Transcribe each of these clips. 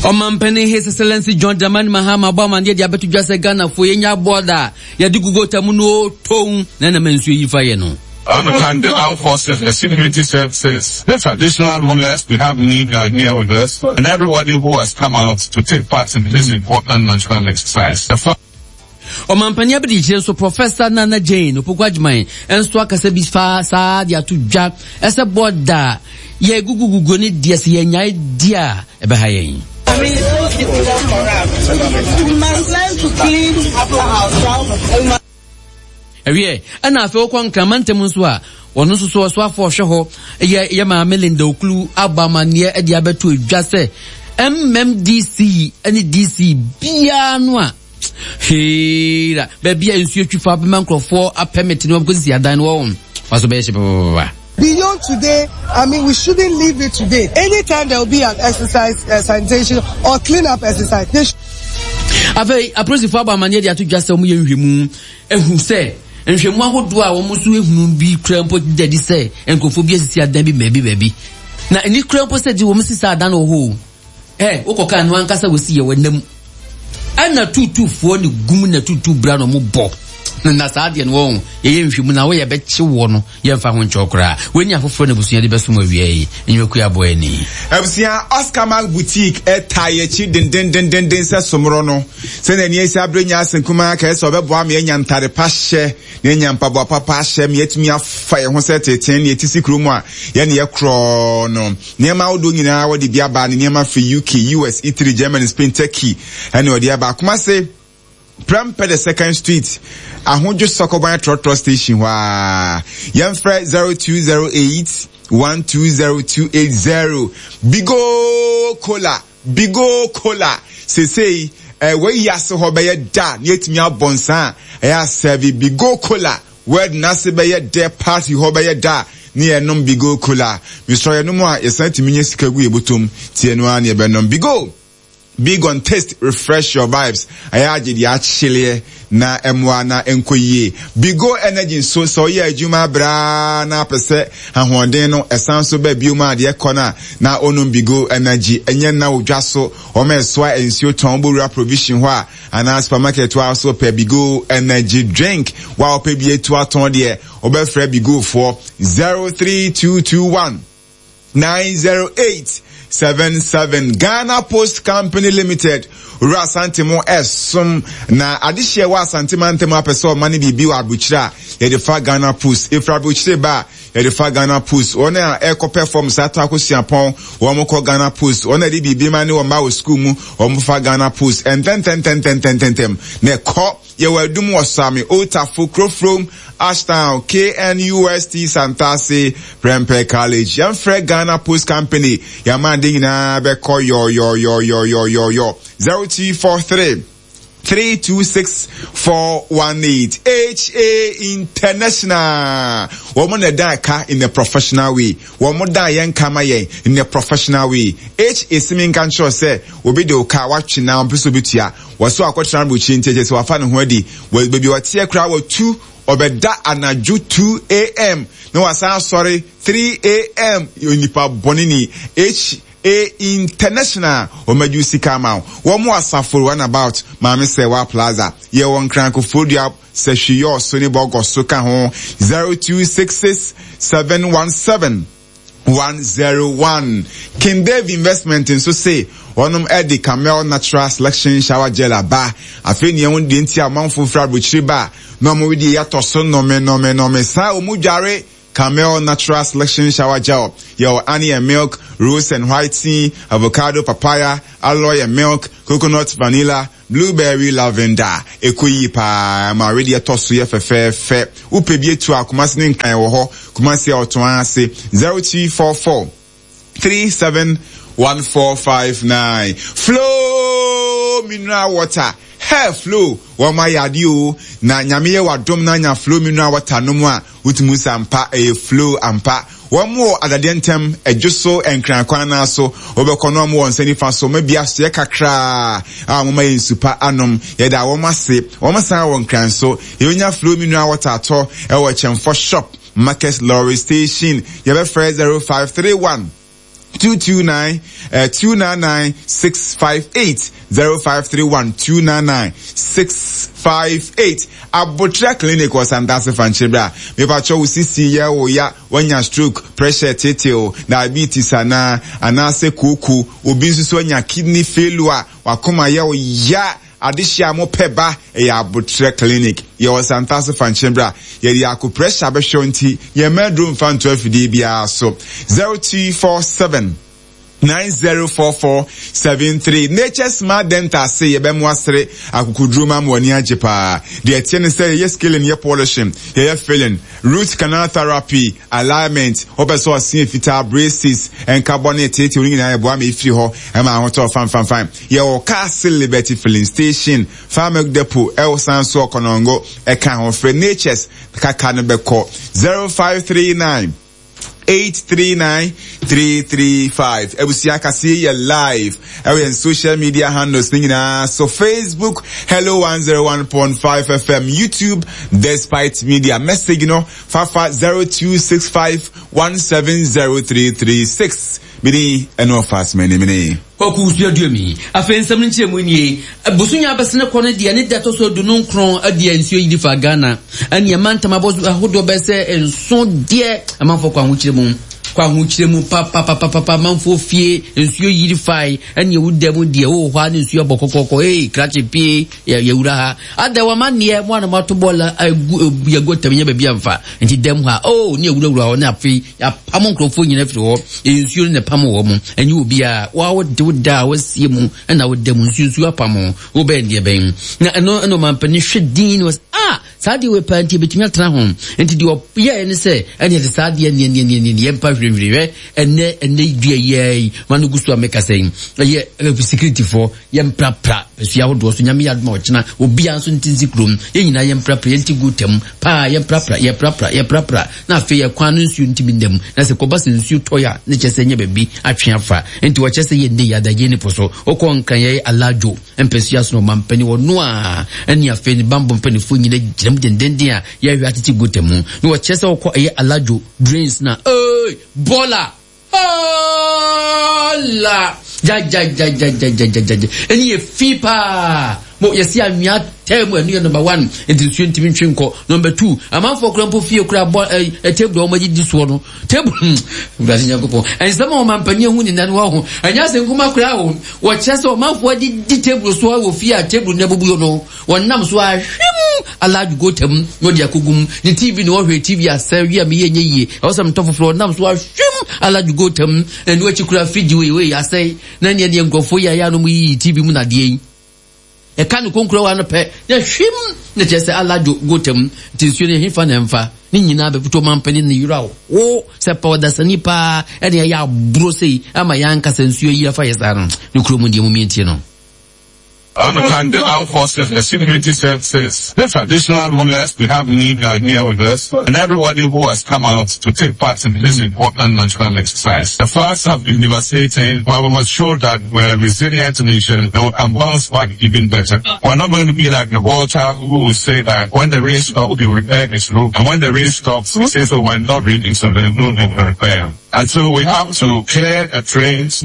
Ɔmanpanin His Excellency John Dramani Mahama abɔ amanneɛ de abɛto dwa sɛ Ghanafoɔ yɛnya bɔɔda a yɛde gu gota mu no tow na ɛnam nsuo yi fa yɛ no. I want to thank the armed forces, the security services, the traditional rulers we have media here with us, and everybody who has come out to take part in this important national exercise. The Ɔmampanin abadiakyire nso Professor Nana Jane Opoku Agyemang nso akasa bi fa saa de ato dwa ɛsɛ bɔda a yɛguguguguo ne deɛ sɛ yɛnyae di a ɛbɛha yɛn. Ɛwiɛ, ɛna afei wokɔ Nkrama ntam nso a, wɔno nso so ɔsoafoɔ ɔhwɛ hɔ yɛ yɛ maame Linda Oklu abɔ amanneɛ de abɛto adwa sɛ MMDC ne DC biara no a Heera, baabi a nsuo twi fa bɛma nkurɔfoɔ apɛmit ne wɔkɔsisi adan no wɔn fa so bɛyɛ hye papapapa. Beyond today, I mean, we shouldn't leave it today. Anytime there will be an exercise, uh, sanitation or clean up exercise. They Afei, apolisifoɔ abɔ amanneɛ de ato dwa sɛ wɔyɛ nhwɛmu ahu sɛ nhwɛmu ahodoɔ a wɔn nso ehunu bi kura mpo da di sɛ nkurɔfoɔ bi asisi adan bi baabi baabi na ɛni kura mpo sɛ de wɔn sisi adan wɔ hɔ o. Ɛ wokɔka no ankasa wɔsi yɛ wɔnam ɛna tuutuufoɔ ne gum na tuutuu bra na ɔmo bɔ na saa deɛ no wɔn yɛyɛ nhwɛmu na woyɛ bɛkye wɔ no yɛmfa ho nkyɛw koraa wɔni afoforɔ na abusua de bɛsom awia yi nnwumakuo aboa ani. Abusua Oscar Mark Boutique ɛtaa yɛkyi dendendendenden sɛ somorɔ no sɛnea ani asi abere nya ase nkumaa kɛɛ sɛ ɔbɛboa me anya ntade pa hyɛ na anya mpaboa papa ahyɛ me atumi afa yɛn ho sɛ teten ne yɛte si kurom a yɛne yɛ korɔɔ no. Nneɛma ahodoɔ nyinaa wɔde bi aba ne nneɛma firi UK, US, Italy, Germany, Spain, Turkey ɛne ɔde aba. Kumase, Prempeh the second street, Ahodwo Sɔkɔban trɔtrɔ station hɔ ara. Yɛmfrɛ 0208 120280. Bigo Cola, Bigo Cola. Sesei, eh, wɔayi ase hɔ bɛyɛ da na yɛatumi abɔ nsa a ɛyɛ asɛve Bigo Cola. Word n'ase bɛyɛ dɛ party hɔ bɛyɛ dɛ a ne yɛnom bigo cola mesrɛ yɛnom a yɛsan tumi nya sika gu yɛ botom ti ɛno ara ne yɛbɛnom bigo big on taste refresh your vibes ɛyɛ agye deɛ akyeleɛ na ɛmoa na ɛnkɔ yie bigo energy nso sɛ ɔyɛ adwuma abraa na apɛ sɛ ahoɔden no ɛsan so ba biom a deɛ ɛkɔ no a na ɔnom bigo energy ɛnyɛ nna odwa so wɔn ɛsoa nsuo tɔn bɔwura provision hɔ a Anaa supermarket hɔ a so pɛ Bigo energy drink wa ɔpɛ bi atu atɔn deɛ wobɛfrɛ Bigo foɔ 03221 908 77 Ghana Post Company Limited Owura Asante mo ɛsom na adehyeɛ wɔ Asante mantam apɛ sɛ ɔma ne biribi wɔ aburokyire a yɛde fa Ghana Post efiri aburokyire ba a Yɛde fa Ghana Post, wɔn a ɛrekɔpɛ fam saa tɔ akɔ suapɔn, wɔn kɔ Ghana Post, wɔn a ɛde biribi ma ne wɔn mma wɔ sukuu mu, wɔn fa Ghana Post ntɛntɛntɛntɛntɛntɛm na ɛkɔ. Yɛwɔ Adum wɔ Same, Old Tafo, Kurofrom, Ashtown, KNUST, Santase, Prempeh College. Yɛmfrɛ Ghana Post Company, yɛama ade nyinaa bɛkɔ yɔyɔyɔyɔyɔyɔ. 0243 326418 HA International wɔn na ɛdan ka in a professional way wɔn dan yɛn ka ma yɛn in a professional way HA simi nka nkyerɛ sɛ obi de oka watwe na ɔmpɛ sɛ obi tua wɔso akɔtena aburukyiri nti ɛkyɛ sɛ wafa ne ho adi wɔ baabi ɔteɛ koraa wɔtu ɔbɛda anadwo 2 am na wasan asɔre 3 am onipa bɔne ni H A International wɔn adwu sika ama wo. Wɔn wɔ Asafo Runabout, Maame Sɛwa Plaza. Yɛ wɔ Nkran Koforidua, Sahwi Yɔɔso ne Bɔgɔso ka ho. 0266 717 101. King Dave Investment nso se wɔnom de Camel Natural Selection Shower Gel aba. Afei nea ɛho deɛ nti a ɔmanfo firi aburokyiri ba a na wɔn wedeɛ yɛatɔ so nnome nnome nnome saa wɔn dware Camel Natural Selection Shower Gel, yɛwɔ honey and milk, rose and white tea, avocado, papaya, aloe and milk, coconut, vanilla, blueberry, lavender. Ɛkɔ yie paa, ma awedeɛ tɔ so yɛ fɛfɛɛfɛ. Wopɛ bi atu a, Kumasi ne Nkran wɔ hɔ. Kumasi a ɔtɔn ase 0244 371459. Flow mineral water. Hair flow wɔn ayɛ adeɛ o na nyame yɛ wadom na anya flow mineral water nom a wotumi sɛ ampa ɛyɛ flow ampa wɔn wɔ adadeɛ ntɛm ɛdwo so nkran kwan naa so wɔbɛkɔ no wɔn wɔ nsa nifa so wɔn abi asoɛ kakraa a wɔn ma yɛ nsu pa anom yɛda wɔn ase wɔn san wɔ nkran so yɛbɛnya flow mineral water atɔ ɛwɔ kyɛnfɔ shop market lorry station yɛbɛfrɛ 0531. 229 299 658 0531 299 658 Abotra Clinic wɔ Santase Fankyere bra. Mepakyɛ wo sisi yɛ wo ya, wanya stroke, pressure tetew, diabetes anaa, anaasɛ kooko, obi nso so anya kidney failure, wakoma yɛ wo ya, adehye a mopɛ ba, ɛyɛ Abotrɛ Clinic. Yɛwɔ Santase Fankyere bra. Yɛde acupressure bɛhwɛ wo nti, yɛmma aduro mfa nto afidie biara so. 0247 904473 Nature Smart Dental se yɛbɛmo asere akokoduro ma ama w'ani agye paa. Deɛ ɛteɛ ne sɛ yɛyɛ scaling, yɛ polishing, yɛyɛ filling, root canal therapy, alignment, wopɛ sɛ ɔse fitaa, braces, nkabɔ ne teetew no nyinaa yɛboa ma ɛfiri hɔ ɛma ahotɔ fanfanfan. Yɛwɔ Castle Liberty Filling Station, Far Milk Depot, ɛwɔ san so Ɔkɔnɔngo ɛka ho. Frɛ Nature's kaka no bɛkɔ 0539 839335 abusua kaseɛ yɛ live ɛwɔ yɛn social media handles ne nyinaa so facebook hello 101.5 fm youtube despite media message no fafa 0265 170336 mede ɛne ɔfa asomani mene Kwaku Suaduami. Afei nsɛm no nkyerɛmu nie. Bosome a abɛsene kɔ no deɛ ne da ɛtɔ so aduonu nkron deɛ nsuo yiri fa Ghana ɛne mantam ahodoɔ bɛyɛ sɛ nson deɛ amanfoɔ kɔ ahokyerɛ mu kɔ ahokyerɛ mu papapapapa amanfoɔ fie nsuo yiri fae ɛne ɛwu dɛ mu deɛ wowɔ hɔ a ne nsuo abɔ kɔkɔkɔ ee krakye pie yɛwura ha ada wama neɛ mo a na moato bɔɔla agu yɛgu atam nyɛ baabi amfa nti dɛm ha oh ne awurawura hɔ ne afei Yɛapamo nkurɔfoɔ nyina firi hɔ, ɛyɛ nsuo no na ɛpamo wɔ mo, ɛnyɛ obiara. Wo a wode wo da a wasie mu na woda mu, nsuo nsuo apamo wo bɛn deɛ bɛn. Na ɛno ɛna ɔmampanin hwɛ din na ɔsɛ, ah, saa adeɛ wei paa nti ɛbɛtumi atena ho. Nti deɛ ɔyɛɛ ne sɛ, ɛne ɛde saa adeɛ neɛ neɛ neɛ neɛ yɛmpa hwirehwire hwɛ ɛnɛ ɛnɛ dua yi yi ma no gu so a meka sɛ yi ɛyɛ securityfoɔ yɛmprapra pɛsua ahodoɔ so nyame yɛ adoma ɔkyena obiara nso nti nsi kurom yɛn nyinaa yɛmprapra yɛnti gu tam paa yɛmprapra yɛprapra yɛprapra na afei ɛkwan no nsuo ntumi nna mu na sɛ kɔba sɛ nsuo tɔe a ne kyɛ sɛ nyɛ baabi atwe afa nti wɔkyɛ sɛ yɛnne yɛ adagye ne po so wokɔ nkran yɛyɛ aladwo mpɛsua so na ɔmampani ɔno a ɛne afei ne bambɔ mpanifoɔ nyina gyina mu dendenden a yɛhwɛ atete gota mu na wɔkyerɛ sɛ wokɔ ɛyɛ aladwo drains na ee bɔla Hola! Gyagyagyagyagyagyagya. Ɛni yɛ fi paa. Mo yɛsi anwea tɛɛ mu ɛno yɛ number one. Nti nsuo ntumi ntwe nkɔ. Number two, amanfoɔ kura mpo fie kura bɔ ɛ ɛ table a wɔn adidi soɔ no. Table hmm Awurade Nyankopɔn. Nsɛm a ɔmanpanin ehu ne nan wɔ ho. Ɛnyɛ asɛm kuma koraa o. Wɔkyerɛ sɛ ɔmanfoɔ adidi table soɔ wɔ fie a table no abubuo no. Wɔnam so ara hwim alaadwo gota mu na ɔde akogu mu. Ne TV na ɔhwɛ TV asɛe wie a meyɛ nyɛ yie. Ɛwɔ sɛ metɔ foforɔ. Ɔnam so ara hwim alaadwo gota mu. Na ɛno akyi koraa fridge wei wei asɛe. Na neɛ neɛ nkurɔfoɔ yi ayɛ a na wɔyiyi TV mu nadeɛ yi. Ɛka ne konkurowa no pɛ na hwim na kyerɛ sɛ alaadwo gota mu. Nti nsuo no ɛhefa na ɛmfa? Ne nyinaa bɛbutu ɔmampanin ne yeraw. Wo sɛ pɛ ɔdasani paa ɛne ɛyɛ aburo sei ama yɛn ankasa nsuo yi afa yɛ saa no. Ne kurom deɛ momientie no. And the armed forces, the security services, the traditional rulers, we have media here with us, and everybody who has come out to take part in this important national exercise. The floods have been devastating, but we must show that we're a resilient nation and we can bounce back even better. We're not going to be like the water who will say that when the rain stops, we repair its roof, and when the rain stops, we say so we're not reading, so there's no need to repair. And so we have to clear the trains.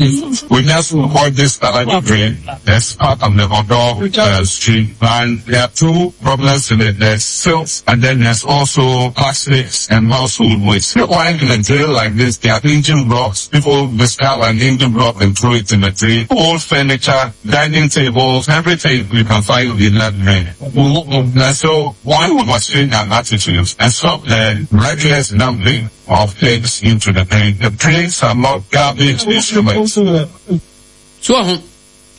We just avoid this other drain that's part of the Odo stream. And there are two problems in it. There's silt, and then there's also plastics and household waste. Why in a drill like this, there are engine blocks. People discard an engine block and throw it in the drain. Old furniture, dining tables, everything you can find in that drain. And so one must change our attitudes and stop the reckless dumping of things into the drain. The drains are not garbage instruments. So ho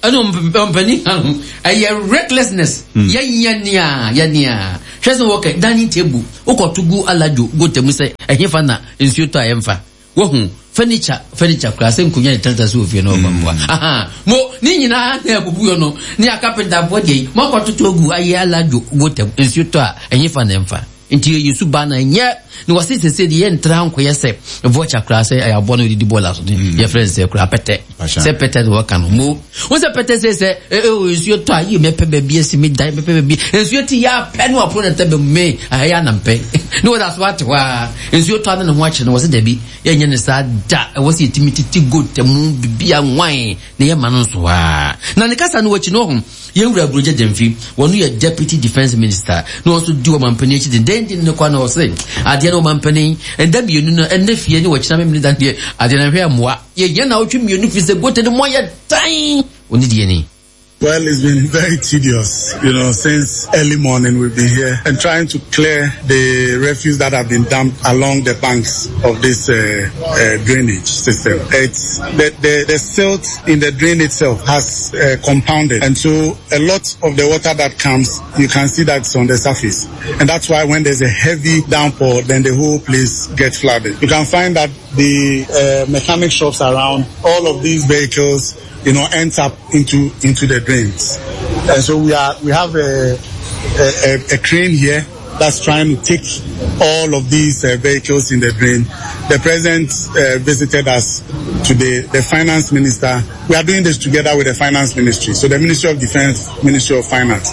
ɛna ɔmpanin ha ho ɛyɛ recklessness yɛnyɛ nea yɛ nea hwɛ sɛ wɔkɛ dining table wokɔto gu aladwo gota mu sɛ ɛhefa na nsuo tɔ a ɛmfa wahu furniture furniture koraa sɛ nkonnwa ne tata so wɔ fie no ɔba mpoa aha mo ne nyinaa na abubu yɔ no ne akapentafoɔ deɛ yi moakɔtoto agu ayɛ aladwo gota mu nsuo tɔ a ɛhefa na ɛmfa. Nti yɛ suban na ɛnyɛ na wɔse sese deɛ yɛntra nkɔyɛ sɛ vulture koraa sɛ ɛyɛ aboa no ɔdidi bɔɔla so mm. yɛfrɛ no sɛ koraa pɛtɛ sɛ pɛtɛ na wɔka no mo wo sɛ pɛtɛ sɛ sɛ ɛwɔ nsuo tɔ a yi mɛpɛ baabi asi me dan mɛpɛ baabi nsuo ti yɛ apɛ no apono na tɛ bɛ me ayɛ anampɛ ne wɔda so ate hɔ a nsuo tɔ a ne ne ho akyerɛ no wɔ sɛ dabi yɛnyɛ ne saa da ɛwɔ sɛ yɛtumi tete gold mu bibia nwan na yɛma no nso a na ne kasa no wakyi no ho Yɛn Wura Aburogya Gyamfi, wɔno yɛ Deputy Defence Minister na ɔnso di ɔmanpanin akyi dendenden no kwa na ɔse adeɛ no ɔmanpanin ɛnda mmienu no ɛnnɛ fie ne ɔkyena memene da deɛ adeɛ no hwɛ mmoa yɛhia naawɔtwe mmienu firi sɛ gote no mu ayɛ tan ɔne deɛ ni. Well, it's been very tedious, you know, since early morning we've been here and trying to clear the refuse that have been dumped along the banks of this uh, uh, drainage system. It's the, the, the silt in the drain itself has uh, compounded. And so a lot of the water that comes, you can see that's on the surface. And that's why when there's a heavy downpour, then the whole place gets flooded. You can find that the uh, mechanic shops around, all of these vehicles, you know, ends up into into the drains. And so we are we have a a, a, a crane here that's trying to take all of these uh, vehicles in the drain. The president uh, visited us today, the finance minister. We are doing this together with the finance ministry. So the Ministry of Defense, Ministry of Finance,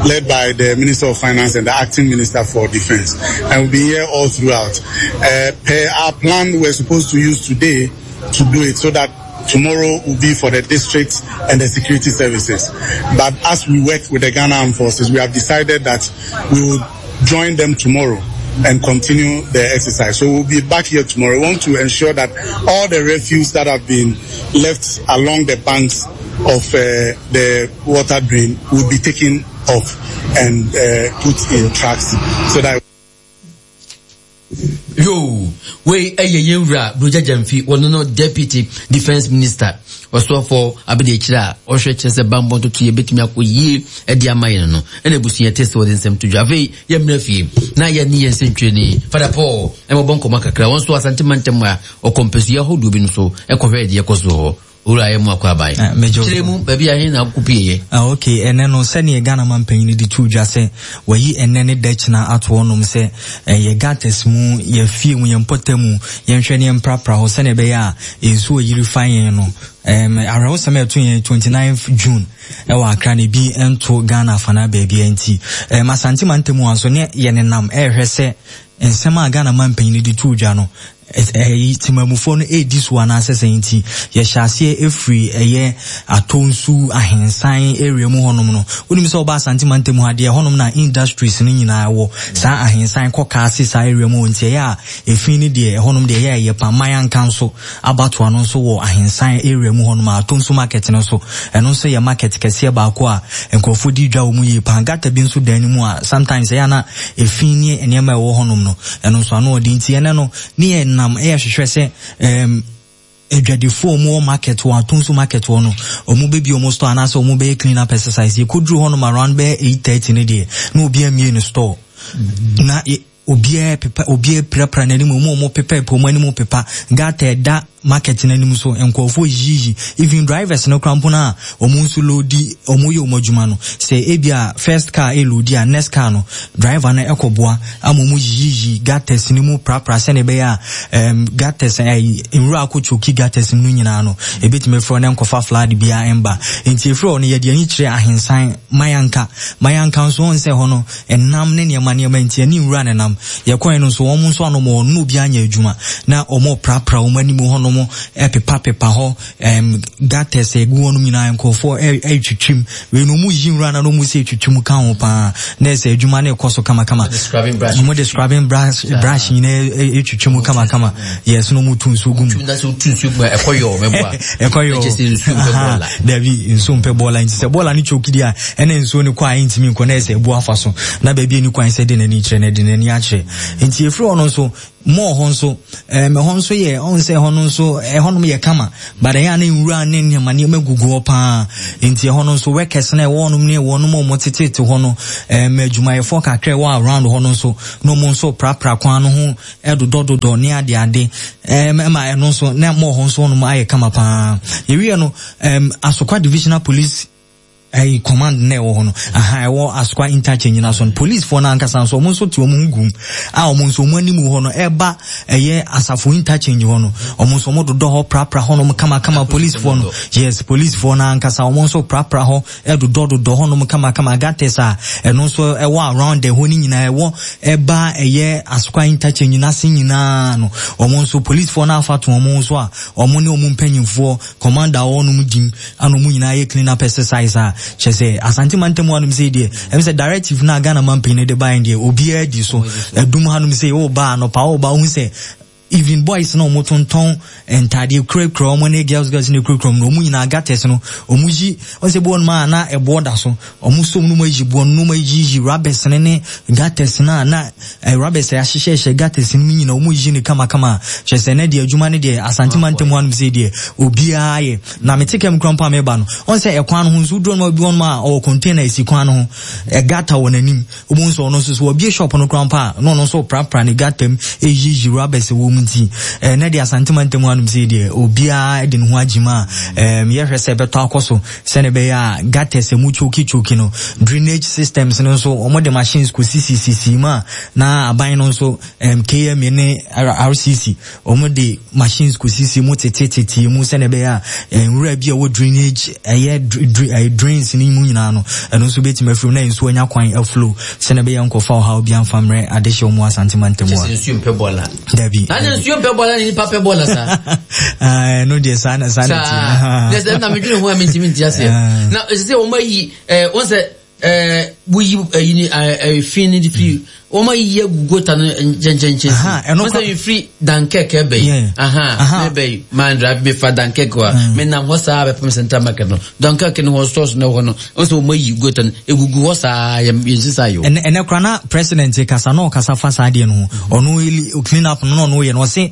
led by the Minister of Finance and the acting minister for Defense. And we'll be here all throughout. Uh, per our plan, we're supposed to use today to do it so that tomorrow will be for the districts and the security services. But as we work with the Ghana Armed Forces, we have decided that we will join them tomorrow and continue the exercise. So we'll be back here tomorrow. We want to ensure that all the refuse that have been left along the banks of uh, the water drain will be taken off and uh, put in trucks so that Yoo, wei ɛyɛ yɛn wura Brogya Gyamfi, wɔno no Deputy Defence Minister, ɔsoafoɔ abadiakyire a ɔhwɛ kyerɛ sɛ bammɔ ntotoeɛ bɛtumi akɔ yie de ama yɛn no, ɛna abusua te sɛ wɔde nsɛm to dwa. Afei yɛmmra fie na yɛne yɛn nsɛntwerɛni Fada Paul mmɔbɔ nkɔmmɔ kakra. Wɔn nso Asante mantam a ɔkɔ mpasua ahodoɔ bi no so kɔhwɛɛ deɛ ɛkɔ so wɔ hɔ. Owura yɛ mu akɔ aban. Ah, megye wo Kyerɛ so. mu baabi a he na wokɔ pieeɛ. Ah, ok, ɛnɛ no sɛdeɛ Ghana manpanyin de too dwa sɛ wayi ɛnɛ ne da kyina ato hɔnom sɛ eh, yɛ gutters mu, yɛ fie mu, yɛ mpɔtam mu, yɛnhwɛ ne yɛmprapra hɔ sɛdeɛ ɛbɛyɛ a nsuo a ɛyiri fa yɛn no. Um, awerɛhosɛm a ɛto yɛn 29 June ɛwɔ Accra na ebi nto Ghana afanaa baabiara nti, um, Asante mantam ha nso ne yɛnenam ɛrehwɛ sɛ nsɛm a Ghana manpanyin de too dwa no Ɛyi temamufoɔ no redi so anaasɛ sɛn nti yɛhyɛ aseɛ firi ɛyɛ Atonsu, Ahensan area mu hɔnom no. Wonim sɛ woba Asante mantam ha deɛ ɛhɔnom na industries no nyinaa wɔ. Saa Ahensan, Kɔkaase saa area mu hɔ nti ɛyɛ a efi no deɛ ɛhɔnom deɛ ɛyɛ a ɛyɛ pa. Mayanka nso abatoa no nso wɔ Ahensan area mu hɔnom a Atonsu market no nso ɛno nso yɛ market kɛseɛ baako a nkurɔfoɔ di dwa wɔ mu yie paa. Gutter bi nso da anim a sometimes ɛyɛ a na efi ne nneɛma a ɛwɔ hɔnom no, ɛno nso ano ɔden nti ɛnɛ no ne yɛ nam ɛyɛ hwehwɛ sɛ ɛɛm adwadifoɔ wɔn wɔ market wɔ atonso market wɔ no wɔn bɛbi wɔn store anaasɛ wɔn bɛyɛ clean up exercise yɛkɔduru hɔnom around bɛyɛ 8:30 no deɛ na obi amie ne store na obiara pepa obiara pirapira n'anim wɔn a wɔn pepa pepa wɔn anim pepa gutter ɛda market no anim so nkurɔfoɔ yiyi even drivers no koraa mpo no a wɔn nso loadi wɔn yɛ wɔn adwuma no sɛ ebi a first car ɛloadi a next car no driver no ɛkɔboa ama wɔn yiyi gutters no mu prapra sɛnea ɛbɛyɛ a um, gutters ɛyi eh, nwura akɔ choki gutters no nyinaa no ebetumi efiri hɔ na nkɔfa flood biara ɛmba nti efiri hɔ no yɛde ani kyerɛ ahensan mayanka mayanka nso wɔn sɛ hɔ no Ɛnam ne nneɛma nneɛma nti, ɛne nwura na ɛnam. Yɛkɔe no nso, wɔn nso anom wɔn ne obiara nyɛ adwuma. Na wɔreprapra wɔn anim hɔnom, ɛpepapepa hɔ, ɛm, gutters a ɛgu hɔnom nyinaa, nkurɔfoɔ ɛretwitwim. Wei no, wɔyi nwura no na wɔn sɛ ɛtwitwim ka ho paa. Na ɛsɛ adwuma no rekɔ so kamakama. Wɔn de scrubbing brush, brush nyinaa ɛtwitwim kamakama. Yes, na wɔtu nsuo gu mu. Ɛkɔ yɔ, mɛboa. Ɛkɔ yɔ. Dabi, nsuo mpɛ bɔɔla nti sɛ bɔɔla no choke di a, ɛna nsuo no kɔ a ɛntumi nkɔ na ɛsɛ ɛbu afa so na baabi ɛni kwan sɛ de n'ani kyerɛ na ɛde n'ani akyerɛ nti ɛfiri hɔ no nso mɔɔ hɔ nso ɛm ɛhɔ nso yɛ ɔn sɛ ɛhɔ no nso ɛhɔ nom yɛ kama but ɛyɛ a na nwura ne nneɛma nneɛma gugu hɔ paa nti ɛhɔ no nso workers na ɛwɔ hɔnom ne wɔnom a wɔn tetete hɔ no ɛm adwumayɛfoɔ kakra ɛwɔ around hɔ no nso na wɔn nso prapra kwan no ho ɛdodɔdodɔ ne ade ade ɛm ɛma ɛno nso na mɔɔ hɔ nso hɔnom ayɛ kama paa yɛwie no ɛm Asokwa divisional police. ɛyi command na ɛwɔ hɔ no aha ɛwɔ Asokwa interchange na so no policefoɔ no ankasa nso wɔn nso te wɔn ho gum a wɔn nso wɔn anim hɔ no ɛba ɛyɛ asafo interchange hɔ no wɔn nso wɔn dodɔ hɔ prapra hɔ nom kamakama policefoɔ no yes policefoɔ no ankasa wɔn nso prapra hɔ ɛdodɔ dodɔ hɔ nom kamakama gutters a ɛno nso ɛwɔ around ɛhɔ no nyinaa ɛwɔ ɛba ɛyɛ Asokwa interchange n'ase nyinaa no wɔn nso policefoɔ no afa to wɔn nso a wɔn ne wɔn mpanyinfoɔ commander a ɔwɔ nom dim ana ɔmo nyinaa yɛ clean up exercise a kyerɛ sɛ Asante mantam hanom sei deɛ ɛm sɛ directive no a Ghana manpanyin no de baeɛ deɛ obiara di so ɛdum hanom sei woba anɔpa woba wohu sɛ even boys na ɔmo tontɔn ntaadeɛ kurakura ɔmo ne girls girls ne kurakura ɔmo no ɔmo nyinaa gutters no ɔmo yi ɔmo sɛ boɔ no ma na ɛboɔ da so Ɔmo som no mu ayi boɔ no mu ayiyi rubbers no ne gutters no a na eh, rubbers a yɛahyehyɛhyɛ gutters no mu nyina ɔmo yiyi no kamakama. Kyerɛ sɛ ɛnɛ deɛ adwuma no deɛ Asante mantam hanom sei deɛ obiara yɛ. Na mete kam kura mpo a meba no, ɔn sɛ ɛkwan no ho nso woduru hɔ nom a obi wɔ nom a ɔwɔ container esi kwan no ho, ɛ gutter wɔ n'anim. Wobɛhu sɛ ɔno nso so wabue shop no koraa mpo a na ɔno nso reprapra ne gutter mu reyiyi rubbers wɔ mu nti ɛnɛ deɛ Asante mantam hanom sei deɛ obiara de ne ho agye mu a ɛɛm yɛhwɛ sɛ ɛbɛtɔ akɔ so. Sɛnea ɛbɛyɛ a gutters a emu kyokichoki no, drainage systems no nso, wɔde machines kosisisisii mu a na aban no nso, um, KMA ne RCC, wɔde machines kosisi mu tetetetee mu sɛnea ɛbɛyɛ a eh, nwura bi a ɛwɔ drainage, ɛyɛ eh, drains no mu nyinaa no, ɛno nso bɛtumi afiri mu na nsuo anya kwan aflow sɛnea ɛbɛyɛ nkɔfa ɔhaw bi amfa mmerɛ adehyeɛ mu Asante mantam a. Kyɛ sɛ nsuo mpɛ bɔɔla. Dabi. Na ne nsuo mpɛ bɔɔla ne nipa pɛ bɔɔla saa. Ɛno deɛ saa na saa na ti. Saa. Ne sɛ na medwene ho a mentumi nti aseɛ. Na ɛsɛ sɛ wɔn ayi ɛɛ wɔn sɛ ɛɛ woyi ɛyi ni ɛɛ fi ni firi wɔn ayi agu gota no nkyɛnkyɛnkyɛn. Ɛno wɔn sɛ firi Dunkirk ɛbɛ yi. Aha ne bɛ yi man drive me fa Dunkirk wa me nam hɔ saa bɛpem central market no Dunkirk no hɔ stores no hɔ no wɔn sɛ wɔn ayi gota no egugu hɔ saa yɛ yɛn sisa yi o. Ɛnɛ ɛnɛ kora na president kasa na ɔkasa fa saa adeɛ no ho ɔno clean up no na ɔno yɛ no ɔse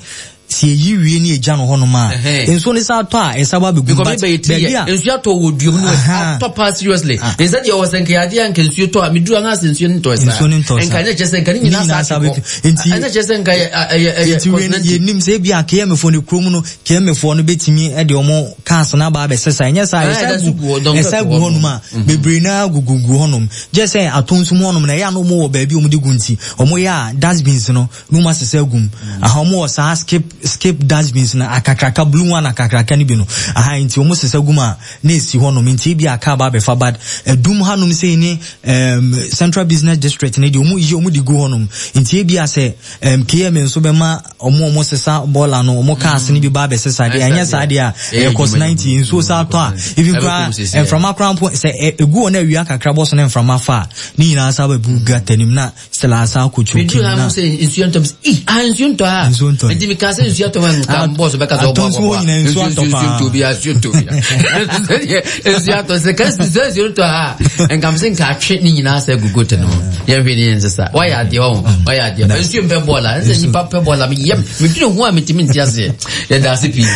sɛ yɛyi wie ne yɛgya no hɔnom a nsuo no sa atɔ a ɛsa ba bɛgu but baabi a nsuo atɔ wɔ duom no atɔ paa seriously ah. ne sɛ deɛ ɔwɔ sɛ nka yɛadeɛ a nka nsuo tɔ a meduru anaa sɛ nsuo no ntɔ saa nsuo no ntɔ saa nka nyɛ kyerɛ sɛ nka ne nyinaa sa kɔ nti ɛnyɛ kyerɛ sɛ nka ɛyɛ ɛyɛ nti yɛnim sɛ ebi a KMfoɔ no kurom no KMfoɔ no bɛtumi de ɔmo cars no aba abɛsesa ɛnyɛ saa ɛsa gu ɛsa gu hɔnom a mhm. bebree naa gugugu hɔnom gye sɛ ato nso mu hɔnom na ɛyɛ a na ɔmo wɔ baabi ɔmo de gu nti ɔmo yɛ a dustbins no na ɔmo asesa agu mu aha ɔmo wɔ saa skip skip dustbins no akakraka blue one akakraka no bi no aha nti ɔmo sesa gu mu a na esi hɔnom nti ebi a car ba abɛfa but ɛdum hanom sei ne um, central business district ne deɛ ɔmo yi ɔmo de gu hɔnom nti ebi a sɛ um, KMA nso bɛma ɔmo ɔmo sesa bɔɔla no ɔmo cars no bi ba abɛsesa deɛ ɛnyɛ saa deɛ a ɛyɛ cost 90 nsuo saa tɔ a even koraa mframa koraa mpo sɛ egu hɔ na awia kakra bɔ so na mframa fa a ne nyinaa saa bɛbu gutter nim na still asa akɔ choki mu na sɛ nsuo ntɔ ii ah nsuo ntɔ ha nsuo ntɔ nti mi ka sɛ nsuo atɔ ha nka bɔs bɛka sɛ ɔbɔ ɔbɔ nsuo atɔ paa nsuo ntɔ bi nsuo ntɔ bi nsuo atɔ sɛ ka sɛ nsuo ntɔ ha nka mi sɛ nka atwe ne nyinaa sɛ gugu te no yɛn hwɛ ne yɛn sesa wayɛ adeɛ ɔho wayɛ adeɛ nsuo mpɛ bɔɔla ɛsɛ nipa pɛ bɔɔla mi yɛm mi dwene ho a mi ti mi nti aseɛ yɛ da ase pii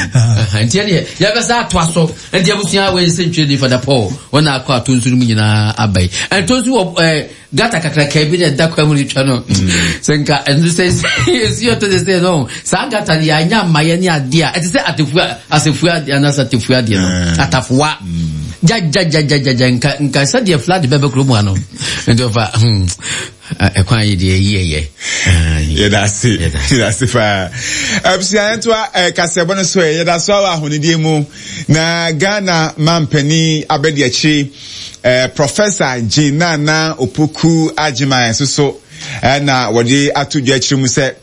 nti ɛdeɛ yɛbɛsa atoa so nti abusua wei sɛ ntwerɛ ni fada paul wɔn akɔ ato nsuo no mu nyinaa aba yi ɛnto nso wɔ ɛɛ gata kakraka bi na ɛda kwan mu retwa no sɛ nka ɛno sɛ nsuo tɔ sɛ sɛ no saa gata no yɛanya mmayɛ ne adeɛ a ɛte sɛ atefua asefua adeɛ anaasɛ atefua adeɛ no eh. atafoa mm. gyagyagyagyagya nka nka sɛdeɛ flood bɛbɛ kurom ha no nti ɔfa hmm, ɛkwan yi deɛ ɛyi ɛyɛ yɛda ase yɛda ase paa abusua yɛntoa eh, kasɛbɔ no so ɛ yɛda so wɔ ahonidie mu na ghana mampanin abɛdi akyiri Eh, Professor Jean Nana Opoku Agyemang nso so eh, na wɔde ato dwa akyerɛ mu sɛ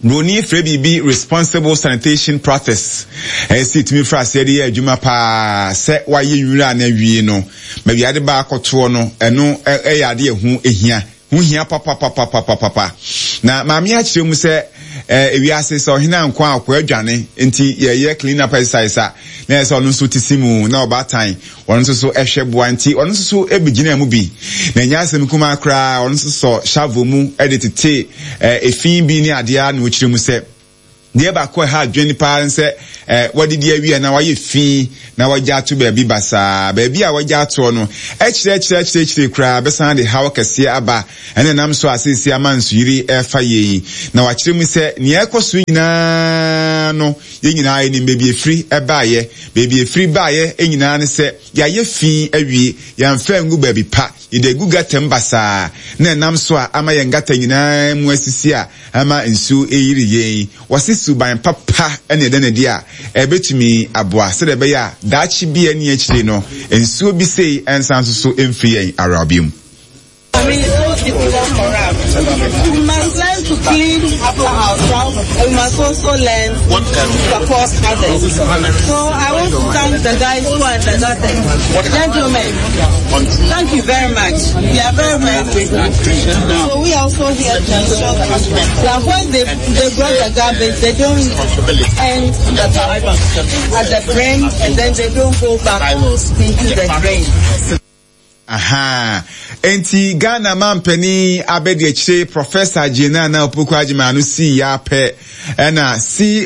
Buroni frɛ biribi responsible sanitation practice. Ɛyɛ sɛ yɛtumi fra aseɛ de yɛ adwuma paa sɛ wayɛ nwura no awie no, baabi ade ba akɔtoɔ no, ɛno ɛyɛ ade ɛho hia. Ho hia papapapapapapa. Na maame akyerɛ mu sɛ eh, ewiase sɛ ɔhene anko a ɔkɔ adwane nti yɛyɛ clean up exercise a na ɛsɛ ɔno nso te si mu na ɔbaatan ɔno nso so ɛhwɛ boa nti ɔno nso so begyinaa mu bi. Na ɛnyɛ asɛm kumaa koraa ɔno nso sɔ shovel mu de tete eh, efi bi ne adeɛ a na ɔkyerɛ mu sɛ Deɛ baako a ɛha adwene paa ne sɛ eh, wadidi awie anaa wayɛ fi na wagya ato baabi basaa. Baabi a wagya atoɔ no, akyire akyire akyire akyire koraa bɛsan de haw kɛseɛ aba. Ɛna ɛnam so a seesei ama nsuyiri refa yɛn yi. Na wakyerɛ mu sɛ nea ɛrekɔ so nyinaa Suban no, yɛn nyinaa yɛnim baabi ɛfiri baeɛ. Baabi ɛfiri baeɛ nyinaa ne sɛ yɛayɛ fi awie, yɛamfa angu baabi pa, yɛde agu gata mu basaa, na ɛnam so a ama yɛn gata nyinaa mu asisi a ama nsuo reyiri yɛn. Wɔse suban papa na ɛda no adi a ɛbɛtumi aboa sɛdeɛ ɛbɛyɛ a daakye bi a ɛnni akyire no nsuo bi sei nsan nso so mfiri yɛn awerɛhoɔ bio mu. I mean, it's so difficult for us. We must learn to clean after ourselves and we must also learn to support others. So I want to thank the guys who are in the garden. Gentlemen, thank you very much. We are very, very grateful. So we are also here to ensure that when they, they brought the garbage, they don't end at the drain and then they don't go back into the drain. Ahaa. Enti Ghana mampanin abadiakyire Professor Jane Nana Opoku Agyemang no sii yɛ apɛ ɛna